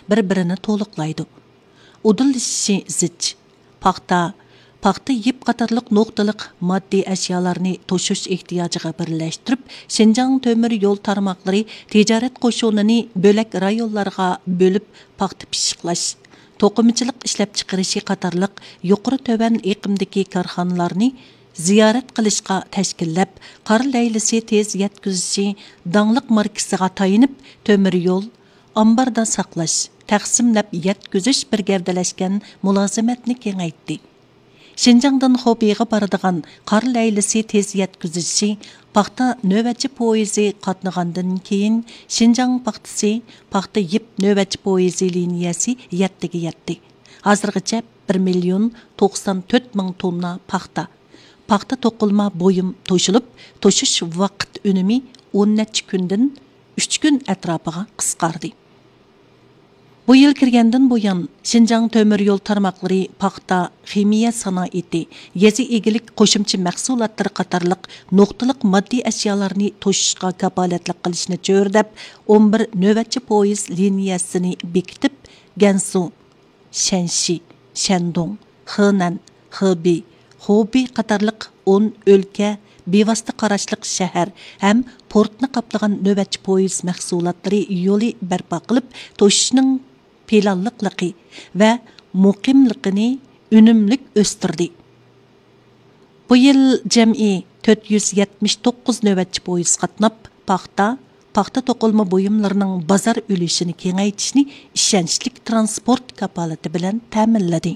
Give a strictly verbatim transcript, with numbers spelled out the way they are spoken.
بىر-بىرىنى تولۇقلايدۇ. ئۇدۇللىشىشى زىچ. پاختا، پاختا يىپ قاتارلىق نۇقتىلىق ماددىي ئەشيالارنى توشۇش ئېھتىياجىغا بىرلەشتۈرۈپ، شىنجاڭ تۆمۈر يول تارماقلىرى تىجارەت قوشۇنىنى بۆلەك رايونلارغا بۆلۈپ، پاختا پىششىقلاش، توقۇمىچىلىق ئىشلەپچىقىرىشى قاتارلىق يۇقىرى تۆۋەن ئېقىمدىكى كارخانىلارنى زىيارەت قىلىشقا تەشكىللەپ، قار لەيلىسى تېز يەتكۈزۈشى داڭلىق ماركىسىغا تايىنىپ، تۆمۈر يول، ئامباردا ساقلاش، تەقسىملەپ يەتكۈزۈش بىر گەۋدىلەشكەن مۇلازىمەتنى كېڭەيتتى. شىنجاڭدىن خوبىغا بارىدىغان قار لەيلىسى تېز يەتكۈزۈشى پاختا نۆۋەتچى پويىزى قاتنىغاندىن كېيىن، شىنجاڭ پاختىسى پاختا يىپ نۆۋەتچى پويىزى لىنىيەسى يەتتىگە يەتتى. ھازىرغىچە بىر مىليون توقسان تۆت مىڭ توننا پاختا، پاختا توقۇلما بۇيۇم توشۇلۇپ، توشۇش ۋاقىت ئۈنۈمى ئون نەچچە كۈندىن ئۈچ كۈن ئەتراپىغا قىسقاردى. بۇ يىل كىرگەندىن بۇيان، شىنجاڭ تۆمۈر يول تارماقلىرى پاختا، خىمىيە سانائىتى، يېزا ئىگىلىك قوشۇمچە مەھسۇلاتلىرى قاتارلىق نۇقتىلىق ماددىي ئەشيالارنى توشۇشقا كاپالەتلىك قىلىشنى چۆرىدەپ، ئون بىر نۆۋەتچى پويىز لىنىيەسىنى بېكىتىپ، گەنسۇ، شەنشى، شەندۇڭ، خېنەن، خېبېي، خوبېي قاتارلىق ئون ئۆلكە، بىۋاسىتە قاراشلىق شەھەر ھەم پورتنى قاپلىغان نۆۋەتچى پويىز مەھسۇلاتلىرى يولى بەرپا قىلىپ، توشۇشنىڭ پىلانلىقلىقى ۋە مۇقىملىقىنى ئۈنۈملۈك ئۆستۈردى. بۇ يىل جەمئىي تۆت يۈز يەتمىش توققۇز نۆۋەتچى پويىز قاتناپ، پاختا، پاختا توقۇلما بۇيۇملىرىنىڭ بازار ئۈلۈشىنى كېڭەيتىشنى ئىشەنچلىك تىرانسپورت كاپالىتى بىلەن تەمىنلىدى.